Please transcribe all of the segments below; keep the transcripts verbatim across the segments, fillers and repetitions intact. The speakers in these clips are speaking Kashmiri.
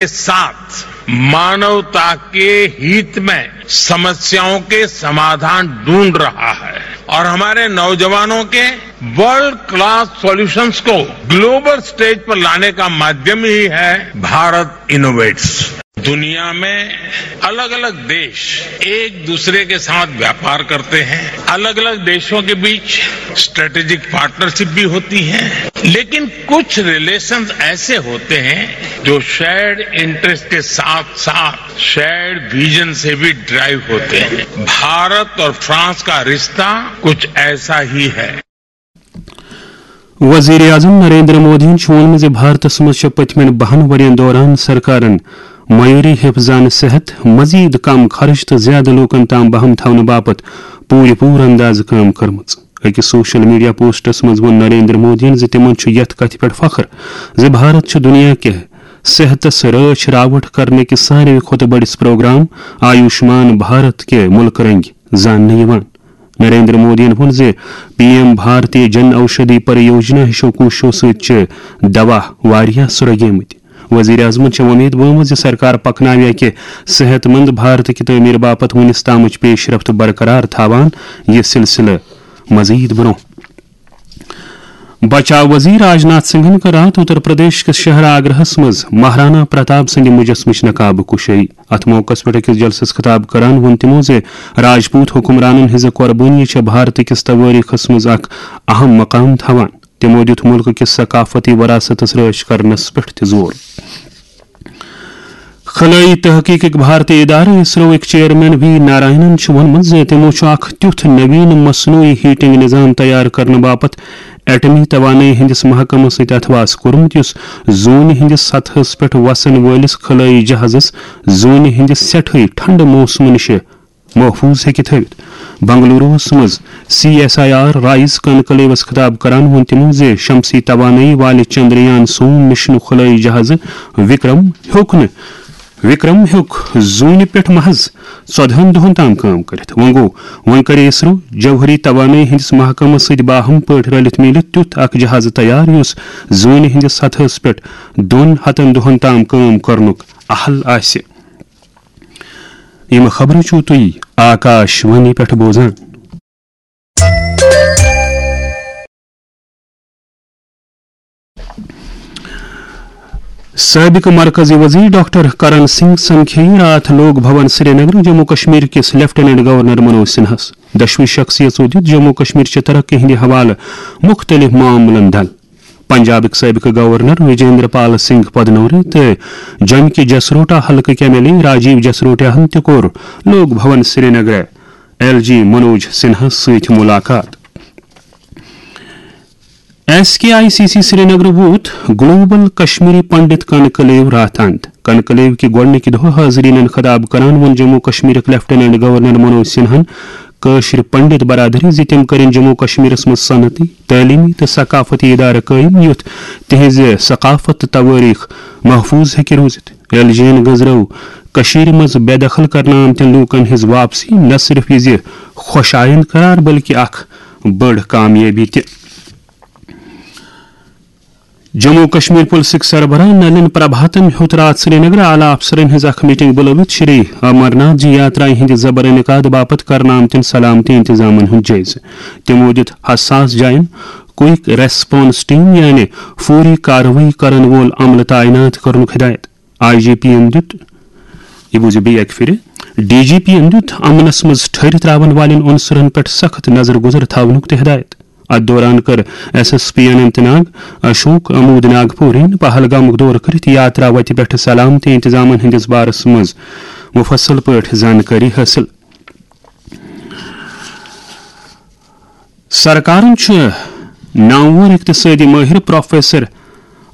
के साथ मानवता के हित में समस्याओं के समाधान ढूंढ रहा है और हमारे नौजवानों के वर्ल्ड क्लास सॉल्यूशंस को ग्लोबल स्टेज पर लाने का माध्यम ही है भारत इनोवेट्स। दुनिया में अलग-अलग देश एक दूसरे के साथ व्यापार करते हैं, अलग-अलग देशों के बीच स्ट्रेटेजिक पार्टनरशिप भी होती है, लेकिन कुछ रिलेशंस ऐसे होते हैं जो शेयर्ड इंटरेस्ट के साथ-साथ शेयर्ड विजन से भी ड्राइव होते हैं। भारत और फ्रांस का रिश्ता कुछ ऐसा ही है। وزیر اعظم نریندر مودیَن چھُ ووٚنمُت زِ بھارتَس منٛز چھِ پٔتمٮ۪ن بَہَن ؤرۍ یَن دوران سرکارَن معیٲری حفظان صحت، مزید کم خرچ تہٕ زیادٕ لوٗکَن تام بہم تھاونہٕ باپتھ پوٗرٕ پوٗرٕ اندازٕ کٲم کٔرمٕژ۔ أکِس سوشل میڈیا پوسٹَس منٛز ووٚن نریندر مودیَن زِ تِمَن چھُ یَتھ کَتھِ پٮ۪ٹھ فخر زِ بھارت چھُ دُنیا کہِ صحتَس رٲچھ راوَٹھ کرنٕکہِ ساروی کھۄتہٕ بٔڑِس پروگرام آیوشمان بھارت کہِ مُلکہٕ رنگہِ زاننہٕ یِوان۔ نریندر مودیَن ووٚن زِ پی ایم بھارتی جن اوشدھی پریوجنا ہِشو کوٗششو سۭتۍ چھِ دوا واریاہ سرٛوگیمٕتۍ۔ وزیر اعظمَن چھےٚ وۄمید ؤومٕژ زِ سرکار پکناوِ اَکہِ صحت مند بھارتٕکہِ تعمیٖر باپتھ وُنِس تامٕچ پیش رفت برقرار تھاوان یہِ سلسلہٕ مزید برونٛہہ۔ بچاو وزیر راجناتھ سنگھن کٔر راتھ اتر پردیش کِس شہر آگرہس منٛز مہارانا پرتاپ سٕنٛدِ مجسمٕچ نقاب کشٲیی۔ اتھ موقعس پٮ۪ٹھ أکِس جلسس خطاب کران ووٚن تِمو زِ راجپوت حکمرانن ہٕنٛزٕ قۄربٲنی چھےٚ بھارت کِس توٲریخس منٛز اکھ اہم مقام تھاوان۔ تِمو دیُت مُلکہٕ کِس ثقافتی وراثتس رٲچھ کرنس پٮ۪ٹھ تہِ زور۔ خلٲیی تحقیقٕکۍ بھارتی ادارٕ اسروٕکۍ چیئرمین وی نارائنن چھُ ووٚنمُت زِ تِمو چھُ اکھ تیُتھ نوین مصنوعی ہیٹنگ نظام تیار کرنہٕ باپتھ ایٹمی توانٲیی ہٕنٛدِس محکمس سۭتۍ اتھواس کوٚرمُت، یُس زوٗنہِ ہٕنٛدِس سطحس پٮ۪ٹھ وسن وٲلِس خلٲیی جہازس زوٗنہِ ہٕنٛدِ سٮ۪ٹھٕے ٹھنڈٕ موسمہٕ نِش محفوٗظ ہیٚکہِ تھٲوِتھ۔ بنگلوروَس منٛز C S I R rise کنکلیوس خطاب کران ووٚن تِمو زِ شمسی توانٲیی والہِ چندریان سوم مشنُک خلٲیی جہازٕ وکرم ہیوٚک نہٕ وکرم ہیوٚک زوٗنہِ پٮ۪ٹھ محض ژۄدہَن دۄہَن تام کٲم کٔرِتھ۔ وۄنۍ گوٚو، وۄنۍ کرِ اسرو جوہری توانٲیی ہٕنٛدِس محکمس سۭتۍ باہم پٲٹھۍ رلِتھ میٖلِتھ تیُتھ اکھ جہازٕ تیار، یُس زوٗنہِ ہٕنٛدِس سطحس پٮ۪ٹھ دۄن ہَتَن دۄہَن تام کٲم کرنُک اہل آسہِ۔ یِم خبرٕ چھِو تُہۍ آکاش وانی پٮ۪ٹھ بوزان۔ سٲبِق مرکزی وزیر ڈاکٹر کرن سنگھ سمکھیٚیہِ راتھ لوک بھون سرینگر جموں کشمیر کِس لیفٹیننٹ گورنر منوج سنہاہس۔ دۄشوٕے شخصیژو دِیُت جموں کشمیر چہِ ترقی ہٕنٛدِ حوالہٕ مُختٔلِف معاملن دل۔ پنجابٕکۍ سٲبِقہٕ گورنر وجیندر پال سنگھ پدنورے تہٕ جوٚمہِ کہِ جسروٹا حلقٕکۍ ایم ایل اے راجیو جسروٹاہن تہِ کوٚر لوک بھون سرینگرٕ ایل جی منوج سنہاہس سۭتۍ مُلاقات۔ S K I C C Srinagar ووت گلوبل کشمیری پنڈت کنکلیو راتھ اند۔ کنکلیو کہِ گۄڈٕنِکہِ دۄہ حاضریٖنن خطاب کران ووٚن جموں کشمیرٕکۍ لیفٹیننٹ گورنر منوج سنہاہن کٲشرِ پنڈت برادری زِ تِم کٔرِن جموں کشمیرس منٛز صنعتی، تعلیمی تہٕ ثقافتی ادارٕ قٲیِم، یُتھ تِہنٛزِ ثقافت تہٕ توٲریخ محفوٗظ ہیٚکہِ روٗزِتھ۔ ایل جی یَن گٔنٛزرٲو کٔشیٖرِ منٛز بے دخل کرنہٕ آمتٮ۪ن لوٗکن ہٕنٛز واپسی نہ صرف یہِ زِ خۄش آیند قرار، بلکہِ اکھ بٔڑ کامیٲبی تہِ۔ جموں کشمیر پُلسٕکۍ سربراہ نلن پربھاتن ہیوٚت راتھ سرینگرٕ اعلیٰ افسرن ہٕنٛز اکھ میٹنگ بُلٲوِتھ شری امرناتھ جی یاترایہِ ہٕنٛدِ زبر انعقاد باپتھ کرنہٕ آمتٮ۪ن سلامتی انتظامن ہُنٛد جٲیزٕ۔ تِمو دِیُت حساس جاین کوئک ریسپانس ٹیم یعنی فوری کاروٲیی کرن وول عملہٕ تعینات کرنُک ہدایت۔ آئی جی پی یَن دیُت، یہِ بوٗزِو بیٚیہِ اَکہِ پھِرِ، ڈی جی پی یَن دیُت امنس منٛز ٹھٔہرِتھ ترٛاون والٮ۪ن عنصرن پٮ۪ٹھ سخت نظر گُزر تھاونُک تہِ ہدایت۔ اتھ دوران کٔر S S P Anant Nag Ashok امود ناگپورین پہلگامُک دورٕ کٔرِتھ یاترا وتہِ پٮ۪ٹھ سلامتی انتظامن ہٕنٛدِس بارس منٛز مُفصل پٲٹھۍ زانکٲری حٲصِل۔ سرکارن چھُ نامور اقتصٲدی مٲہِر پروفیسر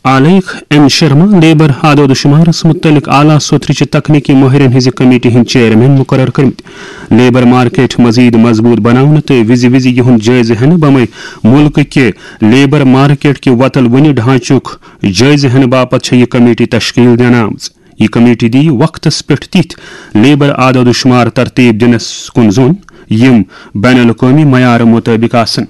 آلیکھ این شرما لیبر اعداد و شمارس مُتعلق اعلیٰ سوٚترِ چہِ تکنیکی مٲہِرن ہٕنٛزِ کمیٹی ہٕنٛدۍ چیئرمین مُقرر کٔرمٕتۍ۔ لیبر مارکیٹ مزید مضبوط بناونہٕ تہٕ وِزِ وِزِ یِہُنٛد جٲیزٕ ہٮ۪نہٕ بمے مُلکہٕ کہِ لیبر مارکیٹ کہِ وۄتل وُنہِ ڈھانچُک جٲیزٕ ہٮ۪نہٕ باپتھ چھےٚ یہِ کمیٹی تشکیل دِنہٕ آمٕژ۔ یہِ کمیٹی دِیہِ وقتس پٮ۪ٹھ تِتھۍ لیبر اعداد و شمار ترتیب دِنس کُن زوٚن، یِم بین الاقوٲمی معیارٕ مُطٲبِق آسن۔